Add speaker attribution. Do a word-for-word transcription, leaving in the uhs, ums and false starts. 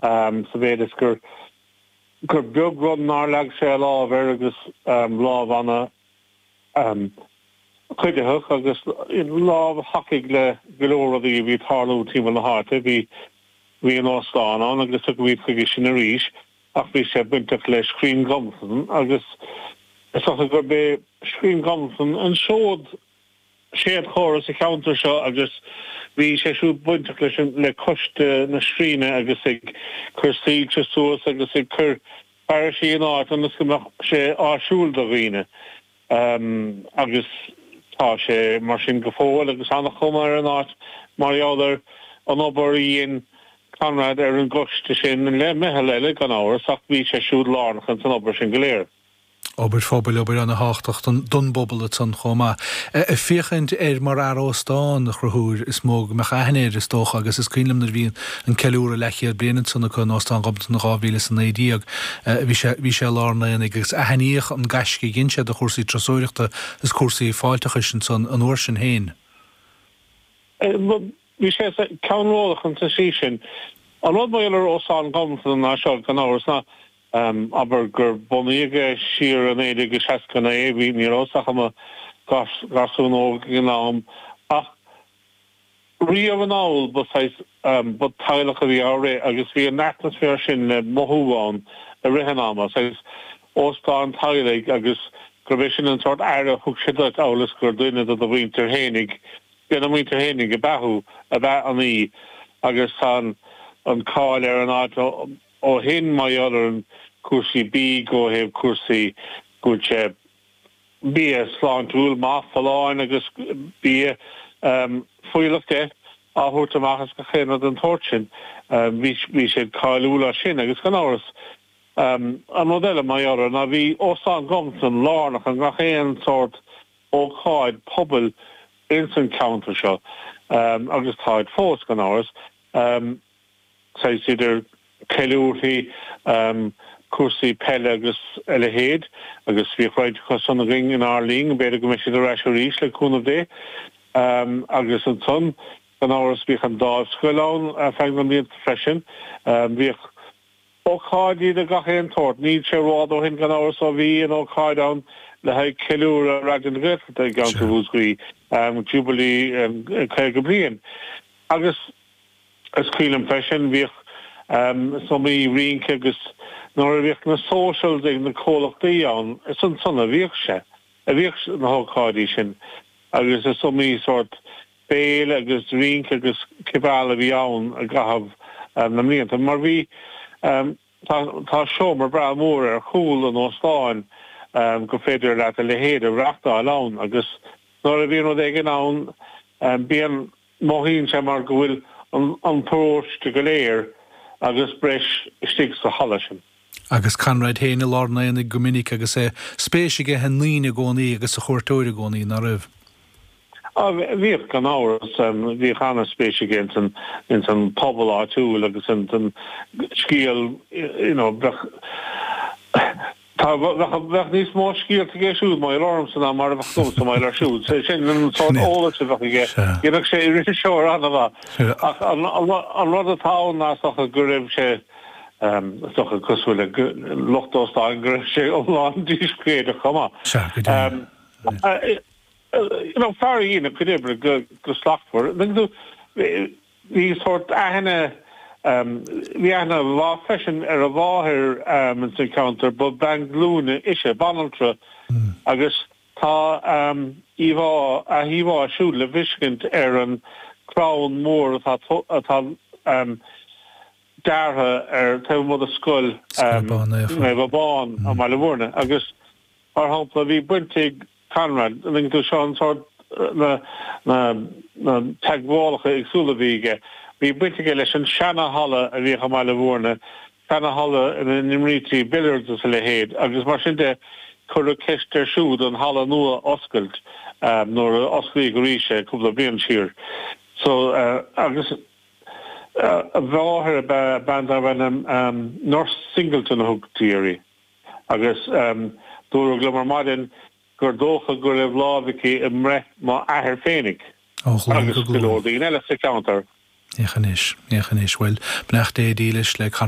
Speaker 1: Sa mhéid is gur gur beag rud nár leag sé a lámh air agus lámh ana chuiditheach agus lámh a thacaigh le go leor rudaí a bhí ag tarlú timpeall na háite. Bhí bhí an óstán ann agus tiocfaimid chuige sin arís ach bhí sé bainteach le Scrín Ghobnatan agus is dócha gurb é Scrín Ghobnatan an seod séadchomhartha sa cheantar seo agus bhí sé siúd bainteach leis an le coiste na scríne agus ag cur soilse suas agus ag cur fearaisí in áit ionas go mbeadh sé áisiúil do dhaoine agus tá sé mar sin go fóill agus an-chuma ar an áit mar gheall ar an obair a dhein Conrad ar an gcoiste sin le meitheal eile gan amhras ach bhí sé siúd lárnach ins an obair sin go léir.
Speaker 2: Obair phobail, obair ana-thábhachtach don bpobal ansan chomh maith. Ag féachaint air mar fhear óstán, a Chonchúir, is mó go mbeadh aithne air, is dócha, agus is cuimhin liom nuair a bhí an ceiliúradh leathchéad bliain ansan acu in Óstán Ghobnatan in dhá mhíle is a naoi déag, bhí sé, bhí sé i lár an aonaigh agus aithníodh an gaisce a dhein sé do chúrsaí turasóireachta is cúrsaí fáilteachais ansan an uair sin féin.
Speaker 1: Bhí sé ceannródaíoch insa tslí sin. An rud mar gheall ar Óstán Ghobnatan ná seo, gan amhras, ná abair gur bunaíodh é siar i naoi déag seasca naoi, bhí, ní rabhas ach i mo gharsún óg ag an am, ach riamh anall ba saghas, ba teaghlach a bhí á rith agus bhí an atmaisféar sin le mothú ann i rith an ama, saghas óstán teaghlaigh agus gurb é sin an sórt aire a thug sé duit amhail is gur duine de do mhuintir fhéinig, dena muintir fhéinig ab ea thú, ab ea an í agus tá an cáil ar an áit ó shin mar gheall ar an cúrsaí bídh ó thaobh cúrsaí go bhfuil sé bia sláintiúil maith folláin agus bia fuílleach de á thabhairt amach is gach aon rud den tsórt sin. Bhí bhí siad cáiliúil as sin agus gan amhras an rud eile mar gheall air ná bhí Óstán Ghobnatan lárnach i ngach aon sórt ócáid pobail ins an ceantar seo agus táid fós gan amhras. Saghas idir ceiliúrthaí, cúrsaí peile agus a leithéid agus bhíodh roinnt acu san againn inár linn, b'fhéidir go mbeidh siad ar ais arís le cúnamh Dé. Agus ansan, gan amhras, bhíodh an Dáimhscoil ann ar feadh na mblianta freisin. Bhíodh ócáidí de gach aon tsórt. Níl sé rófhada ó shin, gan amhras, ó bhí an ócáid ann le haghaidh ceiliúradh Raidió na Gaeltachta i gceantar Mhúscraí, Jubilee caoga bliain. Agus is cuimhin liom freisin, bhíodh, is iomaí rince agus nuair a bhíodh na socials ag na comhlachtaí ann, is ansan a bhíodh sé, a bhíodh na hócáidí sin agus is iomaí sórt béile agus rince agus cibeal a bhí ann i gcaitheamh na mblianta mar bhí, tá, tá seomra breá mór ar chúl an óstáin gur féidir leat a leithéid a reachtáil ann agus nuair a bhíonn rud éigin ann bíonn, mothaíonn sé mar go bhfuil an paróiste go léir agus breis istigh sa halla sin.
Speaker 2: Agus Conrad féin i lár an aonaigh go minic agus é spéis aige i ndaoine i gcónaí agus sa chuairteoir i gcónaí, ná raibh?
Speaker 1: Á, bhíodh, gan amhras. Bhíodh an-spéis aige ins an, ins an pobal áitiúil agus ins an scéal, you know, bheadh, Tá, bheadh níos mó scéalta aige siúd mar gheall ormsa ná mar a bheadh agamsa mar gheall air siúd. Sé sin an sórt eolais a bheadh aige. Dhéanfadh sé iriseoir an-mhaith. Ach an rud atá ann ná is dócha go raibh sé, is dócha cosúil le lucht óstáin, go raibh sé iomlán díscréideach chomh maith.
Speaker 2: Sea, go deimhin.
Speaker 1: You know, fear a dhein a chuid oibre go slachtmhar. Bhí sórt aithne, bhí aithne mhaith freisin ar a mháthair ins an cheantar, ba bhean glúine ise, banaltra, agus tá íomhá, a híomhá siúd le feiscint ar an crann mór atá, atá deartha ar taobh amuigh de Scoil Naomh Abán i mBaile Mhúirne agus mar shampla bhí baint ag Conrad, an dtuigeann tú, seo an sórt, na, na, na teagmhálacha éagsúla a bhí aige. Bhí baint aige leis an seana-halla a bhíodh i mBaile Mhúirne, seana-halla ina n-imrítí billiards is a leithéid, agus mar sin de, cuireadh ceist air siúd an halla nua a oscailt nuair a osclaíodh arís é cúpla bliain siar. So, agus a mháthair ab ea bean darbh ainm Nurse Singleton a thugtaí uirthi. Agus dúradh liom ar maidin gur dócha go raibh lámh aici i mbreith m'athair féinig
Speaker 2: Ó ghlúin
Speaker 1: agus
Speaker 2: go
Speaker 1: go leor
Speaker 2: glúin.
Speaker 1: daoine eile sa cheantar.
Speaker 2: Féach anois, féach anois. Bhuel, beannacht Dé dílis le